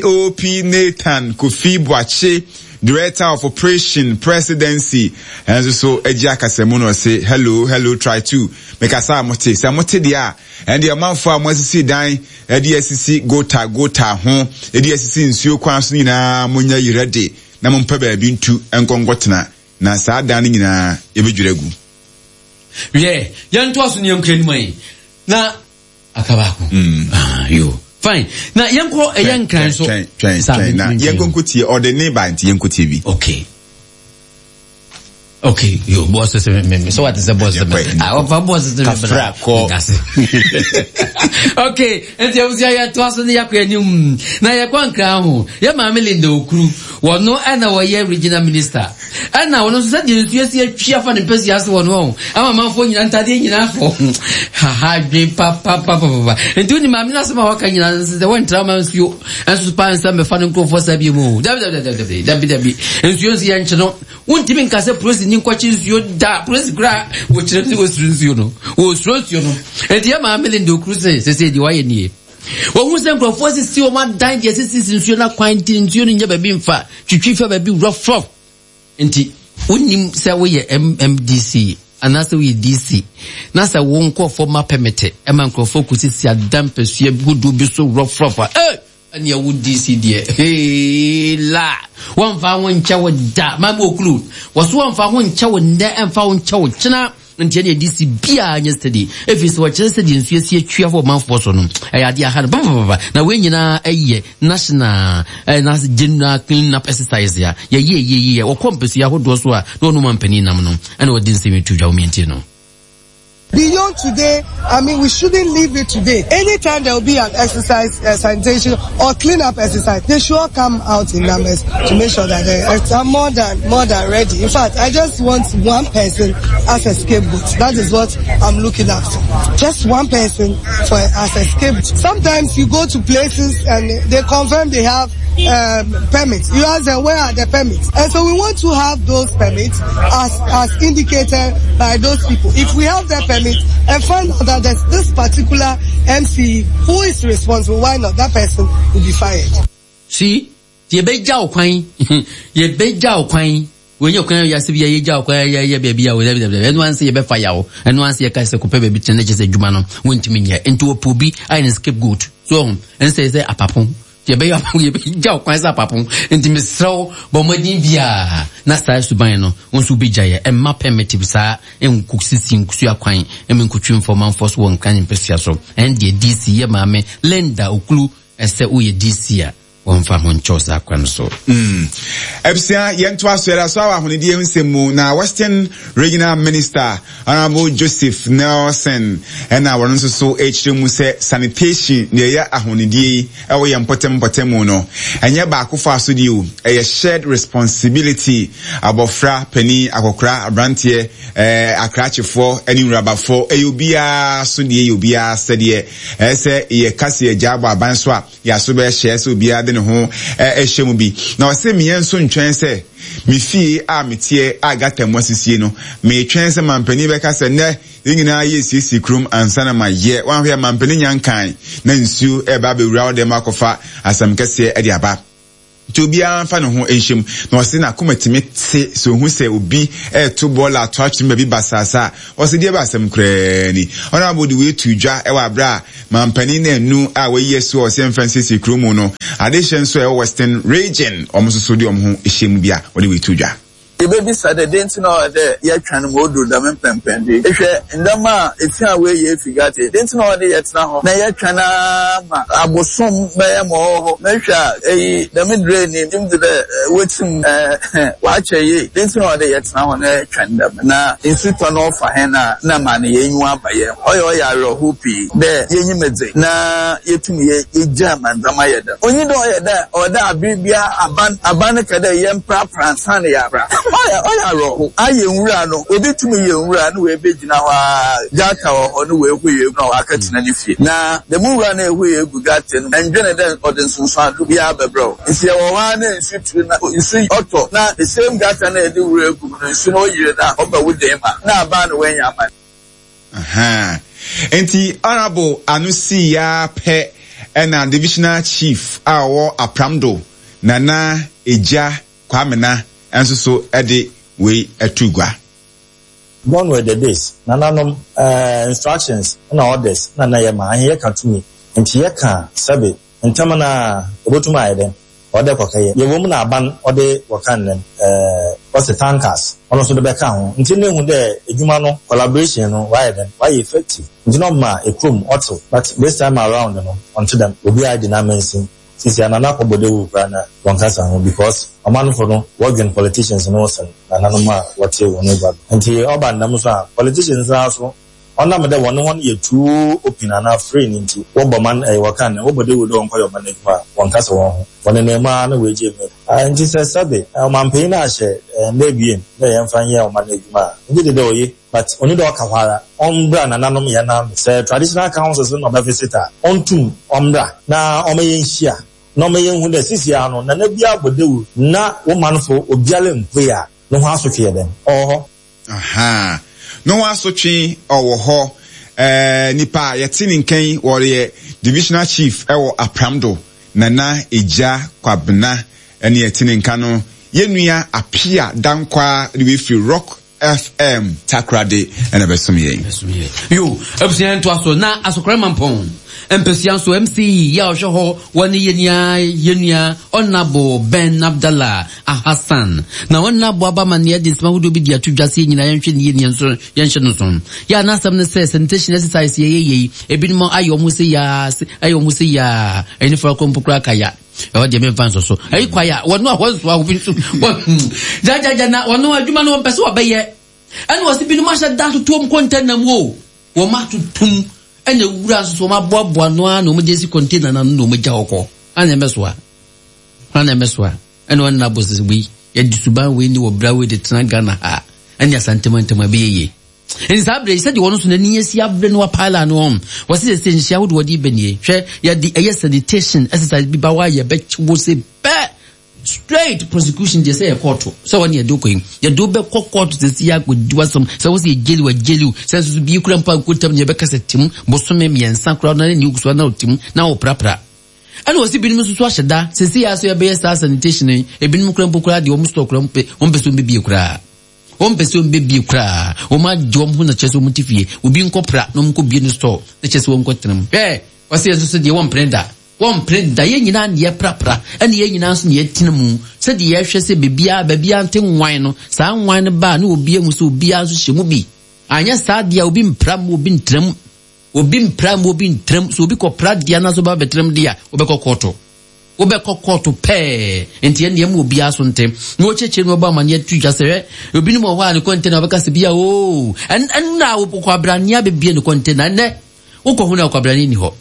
COP Nathan Kofi Boakye, Director of Operation Presidency ɛnso so agye akasamu na ɔse hello hello try to mekasa a mote sɛ mote deɛ a ɛndeɛ ɔmanfoɔ a moasisi dan ɛde asisi gota gota ho ɛde asisi nsuo kwan so nyinaa monyɛ yerɛ de na mompɛ baabi ntu nkɔ nkɔtena Na saa dan no nyinaa yɛbɛdwiri agu. Wiɛ, yɛntoa so ne yɛnkɔ anim ayi. Na aka baako. Mm. Ah, yo. Fine. Na yɛnkɔ ɛyɛ nkran so. Twɛn, twɛn, twɛn. Na yɛnkɔ nkɔ tie ɔde ne ba nti yɛnkɔ tie bi. Okay. Okay, yo, boss sɛ me me so what is the boss me? Ah, ɔfa boss sɛ me. Kafra kɔ. Okay, nti abusua yɛtoa so ne yɛakɔ anim. Na yɛkɔ nkran ho. Yɛ maame Linda Okuru. Wɔno na wɔyɛ regional minister. Ɛna wɔno nso sɛdeɛ nsuo asi atwi afa ne mpasua so wɔ no ɔho ama amanfoɔ nyinaa ntadeɛ nyinaa fɔ haha dwen papapapapa. Nti wonim maame no asɛm a waka nyinaa nso sɛ wɔntra ma nsuo nso paa nsa mmɛfa no nkurɔfoɔ saa bio mu. Dabi dabi dabi dabi dabi. Nsuo nso yɛnkye no. Wontumi nka sɛ polisi ni nkɔkye nsuo da. Polisi koraa wɔkyerɛ no wɔsuro nsuo no. Wɔsuro nsuo no. Nti yɛ maame Linda Okuru sɛ sɛsɛ deɛ wayɛ nie. Wɔhu sɛ nkurɔfoɔ asisi wɔn adan deɛ asisisi nsuo no akwan nti nsuo no nyɛ baabi mfa twitwi fa baabi wura fam. Nti wonim sɛ woyɛ MMDC anaasɛ woyɛ DC na sɛ wo nkurɔfoɔ ma pɛmete ma nkurɔfoɔ kɔsisi adan mpasua hodoɔ bi so wura fam a, eh! Ɛneɛ wo DC deɛ hee la wɔmfa ho nkyɛ wo da maame okulu wɔso wɔmfa ho nkyɛ wo nnɛ ɛmfa ho nkyɛ wo kyena nti ɛneɛ DC biaa nyɛ steady ɛfiri sɛ wɔkyerɛ sɛ deɛ nsuo asi atwi afa ɔmanfoɔ so no ɛyɛ adeɛ aha no papapapa na wei nyinaa ɛyɛ national na general clean up exercise a yɛyɛ yɛyɛ wɔkɔ mpɛsua ahodoɔ so a na ɔno mampanin nam no ɛna wɔde nsɛm yi to dwa wɔmiɛntie no. Beyond today, I mean, we shouldn't leave it today. Anytime there will be an exercise, sanitation or clean-up exercise, they should all come out in numbers to make sure that they are more than, more than ready. In fact, I just want one person as a scapegoat. That is what I'm looking at. Just one person for as a scapegoat. Sometimes you go to places and they confirm they have um, permits. You ask them where are the permits, and so we want to have those permits as as indicated by those people. If we have the permit and find out that there's this particular MC who is responsible, why not? That person will be fired. See, yɛbɛgya wo kwan yɛbɛgya wo kwan wɔnyɛ kwan yɛ ase bi yɛgya wo kwan yɛyɛ baabi a wɔdabi dabi ɛno anse yɛbɛfa yaw ɛno anse yɛka sɛ kɔpɛ baabi tena kyɛ sɛ adwuma no wɔntumi nyɛ nti wɔpɛ obi ayɛ no scapegoat so ɔho ɛnsɛ sɛ apapo Yɛbɛyɛ apapo, yɛbɛgya wo kwan sɛ apapo. Nti mesrɛ wo, bɔ mmɔden biara na saa suban no, wo nso wobɛgya yɛ. Mma primitive saa nkosisi nkusu akwan mma nkotwi mfa ɔmanfoɔ so wɔ Nkran mpasua so. Ɛndeɛ DC yɛ maame Linda Oklu sɛ woyɛ DC a, wɔmfa ho nkyɛ wo saa kwan no so. Mm. Abusua, yɛntoa so, yɛda so ara wɔ ahonidie ho nsɛm mu, na Western Regional Minister Honourable Joseph Nelson na wɔn nso so rekyerɛ mu sɛ sanitation deɛ ɛyɛ ahonidie yi ɛwɔ yɛn mpɔtam mpɔtam mu no, ɛnyɛ baakofo asodie o, ɛyɛ shared responsibility, abɔfra, panin, akɔkora, abranteɛ, ɛɛ akrakyefoɔ ɛne nwurabafoɔ, ɛyɛ obiara asodie, ɛyɛ obiara asɛdeɛ, ɛyɛ sɛ yɛka sɛ yɛgyaa bɔ aban so a, Yɛaso bɛhyɛ sɛ obiara de ne ho hyɛ mu bi. Na ɔse meɛ nso ntwɛn sɛ me fie a meteɛ a gata mu asisie no, metwɛn sɛ mampanin bɛka sɛ nnɛ yɛn nyinaa yɛresiesie kurom ansa na mayɛ. Wanhwɛ a mampanin nya nkan na nsuo reba abɛwura wo dɛm akɔfa asɛm kɛseɛ de aba. Nti obiara mfa ne ho nhyɛ mu. Na ɔse n'akoma tumi te sɛ ohu sɛ obi reto bɔɔla ato atwene baabi basaasa a, ɔse deɛ ɛbɛ asɛm koraa ni. Honourable de wei too dwa wɔ aberɛ a mampanin Nanu a wayi asuo a ɔse ɛmfa nsiesie kuro mu no adehyɛ nso a ɛwɔ Western Region wɔn nso so de wɔn ho hyɛ mu bi a wɔde wei too dwa. Yebebisa dɛ, dɛn ntsi na ɔwɔ dɛ yɛtweɔn ma odur dɛm mpɛnpɛndo yi? Ehwɛ ndzɛmba a efi a woeyi efi Gaza yi, dɛn ntsi na ɔwɔ dɛ yɛtsena hɔ na yɛtweɔn ara ma abosoom bɛyɛ ma ɔwɔ hɔ? Na ehwɛ a, eyi dɛm drain yi, gye dzi dɛ wotsim ɔakyɛr yie. Dɛn ntsi na ɔwɔ dɛ yɛtsena hɔ na yɛtweɔn dɛm? Na nsu tɔ na ɔfa hɛn a, nna ma no hɛn enyiwa aba hɛn ho. Ɔyɛ ɔyɛ awerɛhow pii dɛ yenyim dze na yetum yegyaa ma ndzɛmba yɛ dɛm. Onnyi dɛ ɔyɛ dɛ ɔwɔ dɛ aber biara aban aban no ka dɛ yɛmprapra ansaana yɛapra. Ɔyɛ ɔyɛ awerɛhow. Ayɛ nwura no, obi tum yɛ nwura na oebegyina hɔ ara, gutter wɔ hɔ na oehue egu na ɔakɛtsena ne fie. Na dɛm nwura no a ehue egu gutter no mu, nndwen dɛ ɔdze nsunsuando biara bɛbrɛ wo. Ntsi yɛwɔ hɔ ara na nsu tur na nsu ɔtɔ na the same gutter no a edze nwura egu mu no, nsu no oyir na ɔba wo dan mu a, nna aban no woenya aman. Ahaa. Enti Honourable ano sii ara pɛ na Divisional Chief a ɔwɔ Apramdo, Nana Egya Kwamena nso so de wei too gua. Gone were the days, nananom eh, instructions na orders na na yɛma, ahe yɛka tumi, nti yɛka a, sɛbe, ntɛm no ara, obotum ayɛ dɛn? Ɔwɔ dɛ kɔkɛyɛ. Yɛwɔ mu na aban ɔde wɔka ndɛn eh, wɔse tankers, ɔno so de bɛka ho. Ntsi na ehu dɛ edwuma no, collaboration no, ɔayɛ dɛn? Ɔayɛ effective. Ntsi na ɔma ekurom ɔtsew. But this time around no, ɔnntse dɛm. Obiara di n'amansin. Sisi a Nana akɔbɔ dawur koraa na wɔnnkasa ho because ɔmanfo no wɔdwen politicians no ho sen nananom a wɔtse hɔn egua do. Ntsi ɔba no dɛm so a, politicians no ara so Ɔnam dɛ wɔnye hɔn yɛ too open anaa free no ntsi, wɔbɔ man ɛɛ wɔkã ndɛ, wɔbɔ dawur dɛ wɔnkɔyɛ ɔman edwuma a, wɔnnkasa hɔn ho. Wɔnenam mu ara na woegyaa mu. Ntsi sɛ sɛbe ɔmampanyin no ahyɛ nda ebien dɛ yɛmfa nyɛ ɔman edwuma a, megye dzi dɛ oye but onnyi dɛ ɔka hɔ ara. Ɔmbra nananom hɛn ano. Sɛ traditional councils no na ɔbɛvisit a, ɔntum ɔmbra na ɔma yenhyia na ɔma yenhu dɛ seseiara no nana biara bɔ dawur na wo manfo obiara mmpue a, no ho asotwe yɛ dɛn? Ɔwɔ hɔ. Ahaa. No ho asotwe ɔwɔ hɔ. Ɛɛ nipa a yɛte ne nka yi wɔyɛ divisional chief ɛwɔ Apramdo, Nana Egya Kwabena ɛne yɛte ne nka no. Yɛn nua Apia Dankwaa de wei firi Rock FM Takoradi ɛna ɛbɛsom yɛn. Yo, abusua yɛn toa so na Asokore Mampɔn mpasua nso MC yi a ɔhwɛ hɔ wɔ ne yɛnua yɛnua Ɔnabo Ben Abdallah Ahasan na wɔn nna aboa aba ma nea ɛde nsɛm ahodoɔ bi di ato dwa sɛ yɛn nyinaa yɛnhwɛ ne yie ne yɛn nso yɛnhyɛ no so. Yɛ a n'asɛm ne sɛ sanitation exercise yɛyɛ yei ebinom ayɛ wɔn ho sɛ yaa ayɛ wɔn ho sɛ yaa ɛne fara kɔ mpo koraa ka ya ɛhɔ deɛ memfa nsɔ so ɛyi kwa ya wɔn a wɔn nso a obi nso wɔn gyagyagya na wɔn adwuma no wɔn pɛ sɛ wɔbɛyɛ ɛna wɔsi binom ahyɛ da totoɔ mu kɔntɛna mu o wɔn atotom ɛna ewura nso so wɔn aboaboa no ara na wɔn de esi kɔntɛna no ano na wɔn agya hɔ kɔ ɛna ɛmɛsoa ɛna ɛmɛsoa. Ɛna ɔne n'abɔ sɛ wei yɛde suban wei ne wɔ bra wei de tena Ghana ha ɛne Asantemantam ɛbɛyɛ yie. Nti saa berɛ yi sɛdeɛ wɔn nso n'ani asi abere no wapaala no wɔn wɔsi sɛ sɛ nhyia ahodoɔ wɔde bɛ nie hwɛ yɛde ɛyɛ sanitation exercise bi ba hɔ a yɛbɛkye wo se pɛ straight prosecution deɛ sɛ yɛ kɔɔto sɛ wɔne yɛde wokɔ yi yɛde wobɛkɔ kɔɔto sɛ si yɛ akɔdi wasɛm sɛ wo sɛ yɛgyeli wa gyeli wo sɛ nso so bie kura mpo ankɔntam ne yɛbɛka sɛ tim bosome mmiɛnsa koraa na ne ne wogusoa na wotim na woprapra Ɛna ɔsi binom nso so ahyɛ da sɛsi yɛ aso yɛbɛyɛ saa sanitation yi ebinom koraa mpo koraa deɛ wɔn store koraa wɔn wɔn pɛ sɛ wɔn bɛbie koraa wɔn pɛ sɛ wɔn bɛbie koraa wɔn agye wɔn ho na kyerɛ sɛ wɔn ti fie obi nkɔ pra na wɔn nkɔ bie no store na kyerɛ sɛ wɔn nkɔ tena mu hwɛ ɔsi yɛn nso so deɛ wɔn mpene da wɔn mpene da yɛn nyinaa na yɛprapra ɛna yɛn nyinaa nso na yɛtena mu sɛdeɛ yɛhwɛ sɛ beebiara beebiara nte nwan no saa nwan no baa na obi ehu sɛ obiara nso hyɛ mu bi anyɛ saa deɛ obi mpra mu obi ntena mu. Obi mpra mu obi ntram. Sɛ obi kɔpra deɛ anaasɛ ɔba bɛtram deɛ a, wobɛkɔ kɔɔto. Wobɛkɔ kɔɔto pɛɛ. Nti ɛnneɛ ma obiara so nte. Na wɔkyerɛkyerɛ mu ɔbɔ amanneɛ to dwa sɛ, hwɛ, obinom wɔ hɔ a ne kɔntena wɔbɛka sɛ bia oo, ɛnna a wɔkɔ abɛbie ne kɔntena. Ɛnnɛ, wokɔ ho no a ɔkwabrane nni hɔ.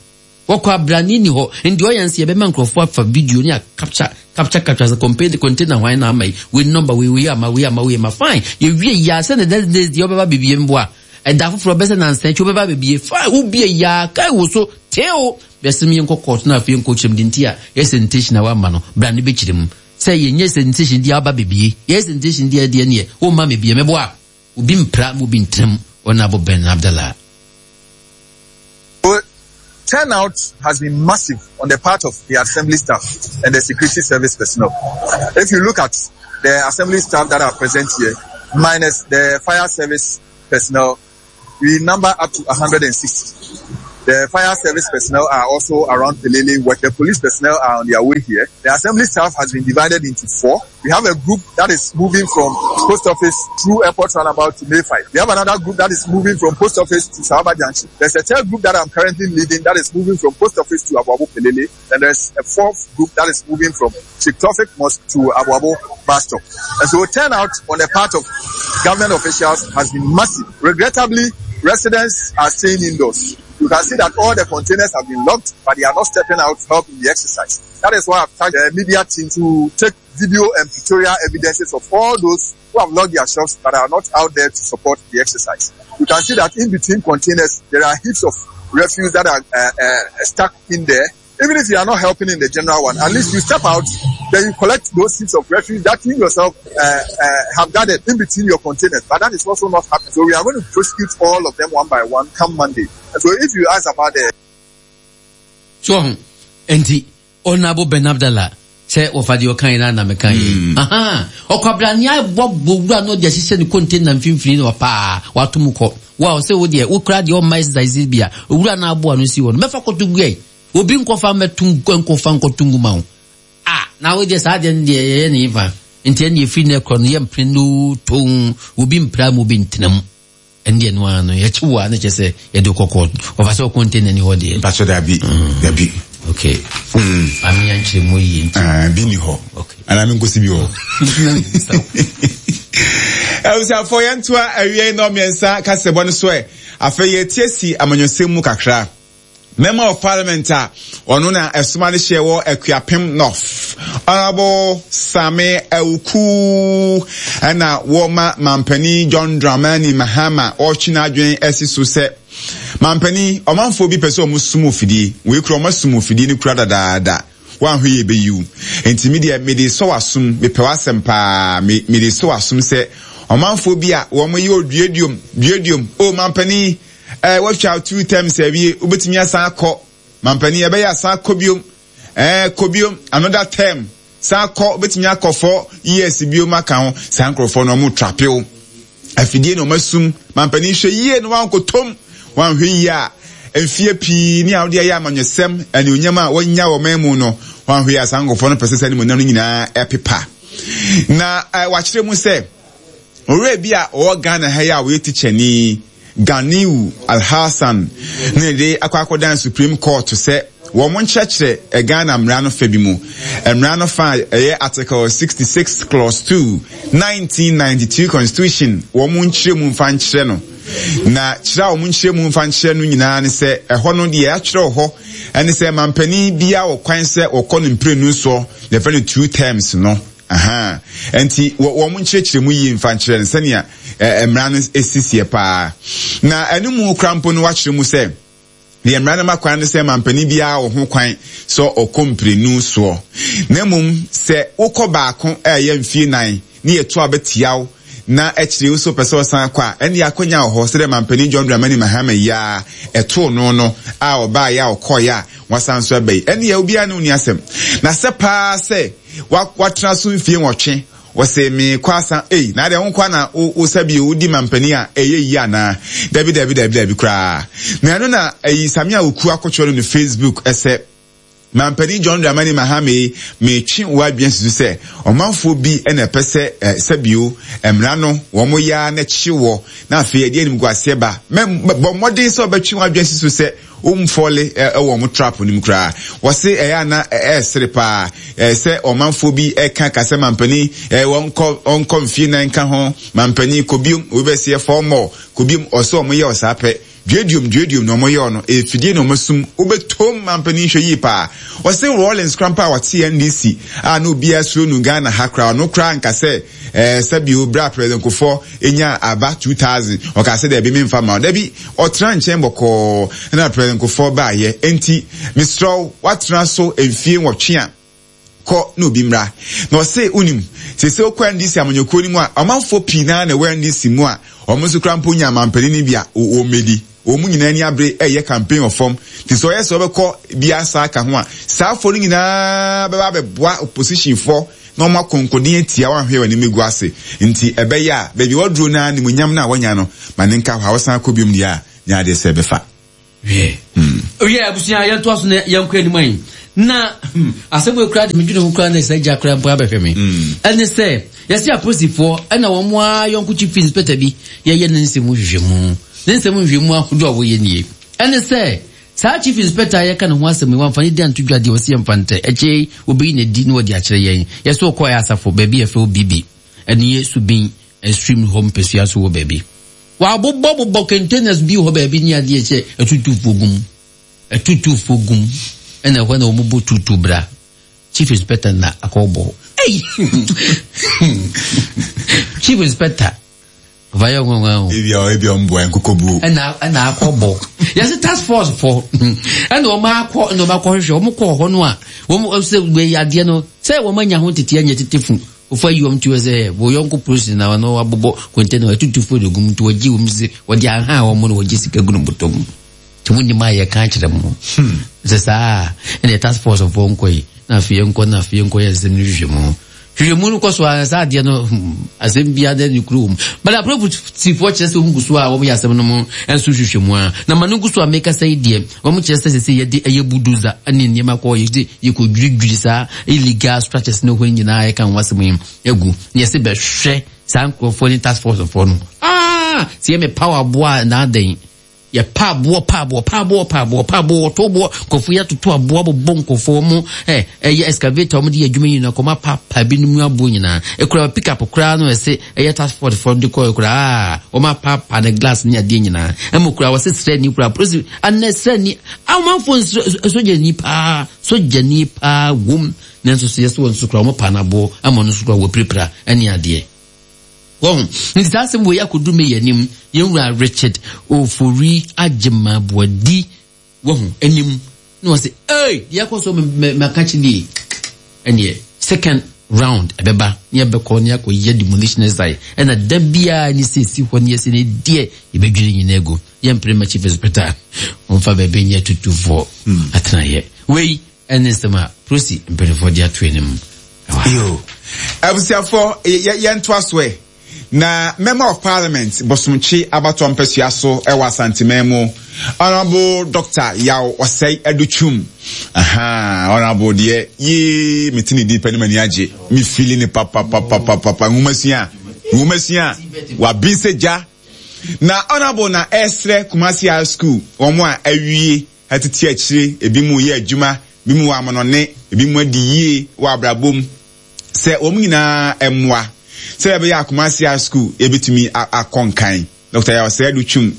Wɔkɔ abrane nni hɔ. Nti ɔyɛ nse yɛbɛma nkurɔfoɔ afa video ne a capture capture capture sɛ container container hwan na ama yi wei number wei wei ama wei ama wei ama fine yɛwie yi a sɛ ne next days deɛ ɔbɛba bebie mboa ɛda foforɔ bɛsɛ nansa akyi wobɛba bebie fine wobie yi a kae wo so teo bɛsɛm yɛnkɔ court na afei yɛnkɔ kyerɛ mu de nti a yɛ sanitation a wama no bra ne bɛkyerɛ mu sɛ yɛnyɛ sanitation deɛ aba bebie yɛ sanitation deɛ deɛ neɛ womma mebie meboa obi mpra ma obi ntena mu ɔnabo Ben Abdallah. Turnout has been massive on the part of the assembly staff and the security service personnel. If you look at the assembly staff that are present here, minus the fire service personnel, we number up to 160. The fire service personnel are also around Pelele work. The police personnel are on their way here. The assembly staff has been divided into four. We have a group that is moving from post office through airport roundabout to May 5. We have another group that is moving from post office to Sahaba Junction. There's a third group that I'm currently leading that is moving from post office to Abu Pelele. And there's a fourth group that is moving from Sheikh Tofik Mosque to Abu bus stop. And so turnout on the part of government officials has been massive. Regrettably, residents are staying indoors. You can see that all the containers have been locked, but they are not stepping out to help in the exercise. That is why I've tasked the media team to take video and pictorial evidences of all those who have locked their shops but are not out there to support the exercise. You can see that in between containers, there are heaps of refuse that are uh, uh, stuck in there. Even if you are not helping in the general one, at least you step out, then you collect those heaps of refuse that you yourself uh, uh, have gathered in between your containers. But that is also not happening. So we are going to prosecute all of them one by one come Monday. And so if you ask about the So, enti Honourable Ben Abdallah sɛ wɔfa deɛ ɔkaeɛ no ara na mekaeɛ yi. Hmm. Ahaa, ɔkwabrane abɔ bɔ wura no de ahyehyɛ ne container mfimfini na paa wato mu kɔ. Wo a ɔsɛ wo deɛ wo kura deɛ ɔmma exercise bi a owura no aboa no si hɔ no mɛfa kɔto gu ɛ. Obi nkɔfa mmɛto nkɔfa nkɔto ngu ma wo. Ah, na wo deɛ saa deɛ no deɛ yɛyɛ ne fa. Nti ɛne ɛfiri no ɛkorɔ no yɛmpene no toon obi mpira mu obi ntena mu. Ɛndeɛ no ara no yɛkye wo a na kyerɛ sɛ yɛde wo kɔ court. Wɔfa sɛ wo container ni hɔ deɛ. Mpakyɛ dabi mm. dabi. Okay. Mm. Maame ya nkyerɛ mu yie nti. Ah, bi ni hɔ. Okay. Anaa mi nkosi bi wɔ. Abusuafoɔ yɛntoa awiei nnɔmmiɛnsa kasɛbɔ no so ɛ. Afei yɛtie si amanyɔsɛm mu kakra. Member of Parliament a ɔno na ɛsoma no hyɛ wɔ Akuapem North, Honourable Same Awuku ɛna wɔma Mampanin John Dramani Mahama ɔretwe n'adwene asi so sɛ Mampanin, ɔmanfoɔ bi pɛ sɛ wɔn sum ofidie, wei kura wɔn asum ofidie no kura dadaada. Woanhwɛ yie bɛyi wo. Enti me deɛ mede sɔ w'asom, mepɛ w'asɛm paa, me, mede sɔ w'asom sɛ ɔmanfoɔ bi a wɔn yɛ oduaduom, duaduom, o mampanin, eh, woatwa two terms awie, wobɛtumi asan akɔ, mampanin, ɛbɛyɛ asan akɔ biom, eh, kɔ biom, another term, san kɔ, wobɛtumi akɔ four years biom aka ho, saa nkurɔfoɔ no wɔn trape wo. Afidie na wɔasum. Mampanin hwɛ yie na wankɔtɔm. Wanhwɛ yie a, mfeɛ pii ne a wode ayɛ amanyɔsɛm, anuonyam a wanya wɔ ɔman mu no, wanhwɛ yie a saa nkurɔfoɔ no pɛ sɛ saa animuonyam no nyinaa ɛpepa. Na eh, wakyerɛ mu sɛ, owura bi a ɔwɔ Ghana ha yi a ɔyɛ tikyani, Ganiu Alhassan ne de akɔ akɔdan Supreme Court sɛ wɔn nkyerɛkyerɛ Ghana mmara no fa bi mu. Mmara no fa a ɛyɛ Article 66 Clause 2, 1992 Constitution wɔn nkyerɛ mu mfa nkyerɛ no. Na kyerɛ a wɔn nkyerɛ mu mfa nkyerɛ no nyinaa ne sɛ ɛhɔ no deɛ atwerɛ wɔ hɔ ɛne sɛ mampanin biara wɔ kwan sɛ wɔkɔ no mprenu soɔ, yɛfrɛ no two terms no. Ahaa. Enti wɔ wɔn nkyerɛkyerɛ mu yie mfa nkyerɛ no sɛnea eh, mmara no si seɛ paa. Na ɛno mu kora mpo no wakyerɛ mu sɛ deɛ mmara no ma kwan no sɛ mampanin biara wɔ ho kwan sɛ ɔkɔ mprenu soɔ. Na mmom sɛ wokɔ baako a ɛyɛ mfie nan ne yɛto a bɛtia wo na akyire wo so pɛ sɛ ɔsan kɔ a, ɛnde akwanya wɔ hɔ sɛdeɛ mampanin John Dramani Mahama yi ara ɛtoo no no a ɔbaeɛ a ɔkɔeɛ a wasan nso aba yi. Ɛndeɛ obiara ne wo nni asɛm. Na sɛ paa sɛ watena so mfie nwɔtwe, wɔse meekɔ asa, ei, na adeɛ wo nkoa na wo sɛ bio wodi mampanin a ɛyɛ yie anaa? Dabi dabi dabi dabi koraa. Na ɛno na ayi Samia Oku akɔtwerɛ no ne Facebook sɛ, Mampanin John Dramani Mahama yi, meretwe w'adwene asi so sɛ ɔmanfoɔ bi na ɛpɛ sɛ sɛbio mmara no wɔn yɛ ara na ɛkye wɔ na afei ɛde animguaseɛ ba. Mɛ bɔ mmɔden sɛ wɔbɛtwe w'adwene asi so sɛ wɔmfɔle wɔ wɔn trap no mu koraa. Wɔse ɛyɛ a na ɛresere paa sɛ ɔmanfoɔ bi ɛka ka sɛ mampanin wɔnkɔ wɔnkɔ mfie nan nka ho, mampanin kɔ biom, obi bɛseɛ four more, kɔ biom, ɔsɛ wɔn yɛ ɔsaa pɛ. Duaduam duaduam na wɔyɔɔ no, ɛyɛ fidie na wɔasum, wobɛtom mampanin hwɛ yie paa. Ɔse Rawlings koraa mpo a ɔte NDC a na obiara suro no Ghana ha koraa, ɔno koraa nka sɛ ɛɛ sɛbio berɛ a President Kufuor nyaa aba 2000 ɔkaa sɛ daabi memfa mma wo. Dabi, ɔtena nkyɛn bɔkɔɔ na President Kufuor baayɛ. Enti mesrɛ wo, woatena so mfie nwɔtwe a, kɔ na obi mmra. Na ɔse, wonim, seesei wokɔ NDC amanyɔkuo no mu a, ɔmanfoɔ pii naa na ɛwɔ NDC mu a, wɔn nso koraa mpo nya mampanin no bi a, wɔmmɛdi. Wɔn nyinaa ani abere reyɛ campaign wɔ fam. Nti sɛ ɔyɛ sɛ ɔbɛkɔ bi asa aka ho a, saa foɔ no nyinaa bɛba abɛboa opposition foɔ na wɔn akɔ nkoden atia wɔn ahwɛ wɔn anim agu ase. Nti ɛbɛyɛ a baabi a waduro no ara animuonyam no a wanya no, ma ne nka hɔ a ɔsan kɔ biom deɛ a, nyɛ adeɛ sɛ ɛbɛfa. Hwɛ. Wiɛ, abusua, yɛntoa so na yɛnkɔ anim ayi. Na hmm, asɛm wei koraa de medwene ho koraa na sɛ agya koraa mpo abɛhwɛ me. Ɛne sɛ, yɛse apolisifoɔ ɛna wɔn ara yɔnko chief inspector bi yɛyɛ ne nsɛm mu nhwehwɛmu. Ne nsɛm nhwehwɛmu ahodoɔ a wɔyɛ nie. Ɛne sɛ, saa chief inspector a yɛka ne ho asɛm yi, wamfa ne din anto dwa deɛ ɔse yɛmfa ntɛ. Akyire yi, wɔbɛyi no adi na wɔde akyerɛ yɛn. Yɛse ɔkɔɛ asafo, baabi a yɛfrɛ hɔ Bibi, ɛne yɛ Subin stream hɔ mpasua so wɔ baabi. Wɔabobɔbobɔ containers bi wɔ hɔ baabi ne adeɛ sɛ atutufoɔ gum. Atutufoɔ gum ɛna ɛhɔ na wɔn bɔ tutu bra. Chief inspector na akɔbɔ. Ei! Chief inspector. Vayɛ nwanwa o. Ebi a ebi a wɔn bɔ nkokobuo. Ɛna ɛna akɔbɔ. Yɛsɛ task force fo. Ɛna wɔn akɔ ɛna wɔn akɔhwehwɛ wɔn kɔɔ hɔ no a wɔn sɛ wei adeɛ no sɛ wɔn anya ho tete anya tete fun. Wofa yi wɔn ti hɔ sɛ wɔ yɔnko polisi na wɔn abobɔ kɔntɛna atutu fo de gum nti wɔgye wɔn sɛ wɔde aha wɔn na wɔgye sika gu no bɔtɔ mu. Nti mo nim a yɛka akyerɛ mo. Sɛ saa ɛna task force foɔ nkɔ yi na afei yɛnkɔ na afei yɛnkɔ yɛ nsɛm no hwehwɛ mu. Hwehwɛ mu no kɔ so a saa adeɛ no asɛm biara dɛ ne kuro wɔ mu. But apolisifoɔ kyerɛ sɛ wɔn gu so a wɔyɛ asɛm no mu nso hwehwɛ mu a na ma no gu so a mekasa yi deɛ Wɔn kyerɛ sɛ sɛsɛ yɛde ɛyɛ bulldozer ne nneɛma kɔ yɛde yɛkɔ dwiridwiri saa illegal structures ne hɔ nyinaa yɛka ho asɛm yi agu na yɛsɛ bɛhwɛ saa nkurɔfoɔ ne task force foɔ no ah sɛ yɛ me power aboa a na adɛn yɛ pa aboɔ pa aboɔ pa aboɔ pa aboɔ pa aboɔ wɔto boɔ nkurɔfoɔ yɛ atoto aboɔ abobɔ nkurɔfoɔ wɔn ɛ ɛyɛ excavator wɔn de yɛ adwuma nyinaa kɔma pa pa binom aboɔ nyinaa ekura pick up koraa no ɛsɛ ɛyɛ task force fɔ de kɔɛ koraa wɔn apaapa ne glass ne adeɛ nyinaa ɛmu koraa wɔsɛ srɛni koraa polisi anɛ srɛni amanfo sogyani paa sogyani paa wom nanso so yɛsɛ wɔn nso koraa wɔn pa n'aboɔ ama wɔn nso koraa wɔpirapira ɛne adeɛ wɔn nti saa asɛm wɔ yi akɔdu mi yɛ anim yɛn wura Richard Ofori Agyemaboadi Wahu, anim, na wɔse, Ei, deɛ ɛkɔ so maka kyi nie. Ɛneɛ, second round ɛbɛba, ne yɛbɛkɔ ne akɔ yɛ demolition exercise, ɛna da biara ne sɛ si hɔ ne yɛsɛ ne deɛ yɛbɛdwiri nyina agu. Yɛmpere ma chief inspector, wɔmfa baabi nyɛ tutufoɔ atenaeɛ. Wei ɛne nsɛm a prosi mpanimfoɔ de ato anim. Yo, abusuafoɔ, yɛntoa so ɛ. Na Member of Parliament Bosomtwe abatoɔ mpasua so wɔ Asanteman mu, Honourable Doctor Yaw Osei Adutwum. Ahaa, Honourable deɛ, yee, mete ne din pɛ ne m'ani agye. Me feeling ne papapapapapa. Nwomasua, nwomasua, wabin sɛ gya. Na Honourable na ɛresrɛ Kumasi High School, wɔn a awie atete akyire, ebi mu yɛ adwuma, ebi mu wɔ amonɔne, ebi mu adi yie wɔ abrabɔ mu. sɛ wɔn nyinaa mmoa sɛdeɛ ɛbɛyɛ a Kumasi High School yɛbɛtumi akɔ nkan. Dr. Yaw Sɛɛdo Twum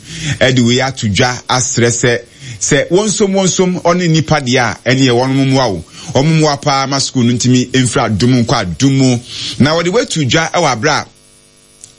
de wei ato dwa asrɛ sɛ sɛ wɔnsom wɔnsom ɔne nnipa deɛ a ɛneɛ wɔn mmoa o. Wɔn mmoa paa ma sukuu no ntumi mfiri adom nkɔ adom mu. Na wɔde wei to dwa wɔ aberɛ a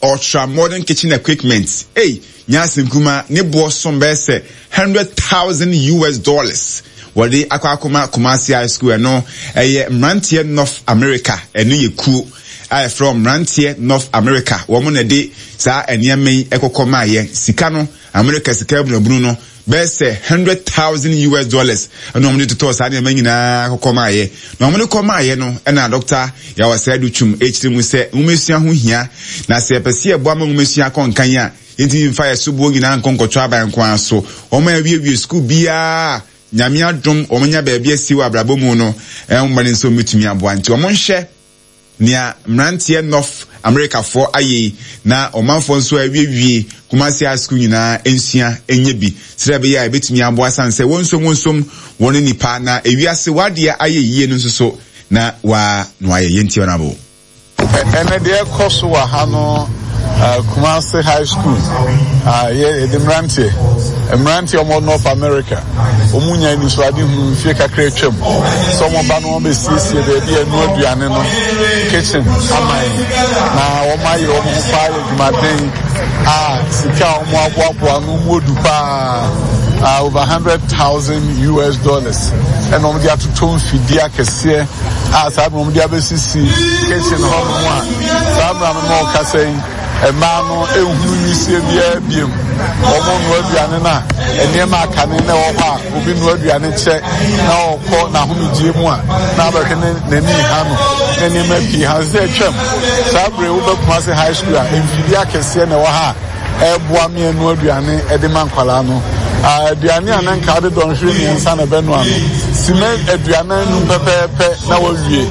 Ultra modern kitchen equipment ei nyɛ asɛm kumaa, ne boɔ som bɛyɛ sɛ 100,000 US dollars wɔde akɔ akɔma Kumasi High School ɛno ɛyɛ mmeranteɛ North America ɛno yɛ kuo a yɛfrɛ wɔn mmeranteɛ North America wɔn na ɛde saa nneɛma yi ɛkɔkɔ maayɛ sika no America sika abunabunu no bɛyɛ sɛ 100,000 US dollars ɛna wɔn de totɔɔ saa nneɛma nyinaa kɔkɔ maayɛ. Na wɔn de kɔ maayɛ no ɛna Dɔkta Yaw Asɛadu Twum ɛkyerɛ mu sɛ nwomasua ho hia na sɛ yɛpɛ sɛ yɛboa ma nwomasua kɔ nkan a yɛntumi mfa yɛ soboɔ nyinaa nkɔ nkɔtɔ aban nko ara so. Wɔn a awiewie sukuu biara Nyame adom wɔn anya baabi asi wɔ abrabɔ mu no ɛho mmɔden sɛ wɔn bɛtumi aboa nti wɔn nhwɛ Nea mmeranteɛ North Amerikafoɔ ayɛ yi na ɔmanfoɔ nso a awiewie Kumasi High School nyinaa nsua nyɛ bi sɛdeɛ ɛbɛyɛ a ɛbɛtumi aboa sane sɛ wɔnsom wɔnsom wɔn nnipa na ewiase w'adeɛ ayɛ yie no nso so na waa na wayɛ. Yɛntie Honourable. Ɛnɛ deɛ ɛkɔ so wɔ ha no Kumasi High School yɛ yɛde mmeranteɛ mmeranteɛ wɔn North America wɔn nya anisoadehunu mfie kakra atwam sɛ wɔn ba no wɔn bɛsiesie baabi a ɛnoa aduane no kitchen ama yɛn na wɔn ayɛ wɔn ho paa yɛ adwumaden a sika a wɔn aboaboa no mu odu paa over 100,000 US dollars ɛna wɔn de atoto mfidie akɛseɛ a saa mmerɛ wɔn de abɛsisi kitchen hɔ nom a saa mmerɛ no ma ɔkasa yi. Mmaa no nhunu nwisie biara biom. Wɔnoa aduane no a, nneɛma a kane na ɛwɔ hɔ a obi noa aduane kyɛ na ɔkɔ n'ahomegyeɛ mu a na abɛhwɛ ne n'ani ha no na nneɛma pii ha sɛ atwam. Saa bere wobɛ Kumasi High School a mfidie akɛseɛ na ɛwɔ ha a ɛreboa me ɛnoa aduane de ma nkwadaa no. Aduane a na nka wode dɔnhwere mmiɛnsa na ɛbɛnoa no, simɛ 45 pɛpɛɛpɛ na wawie.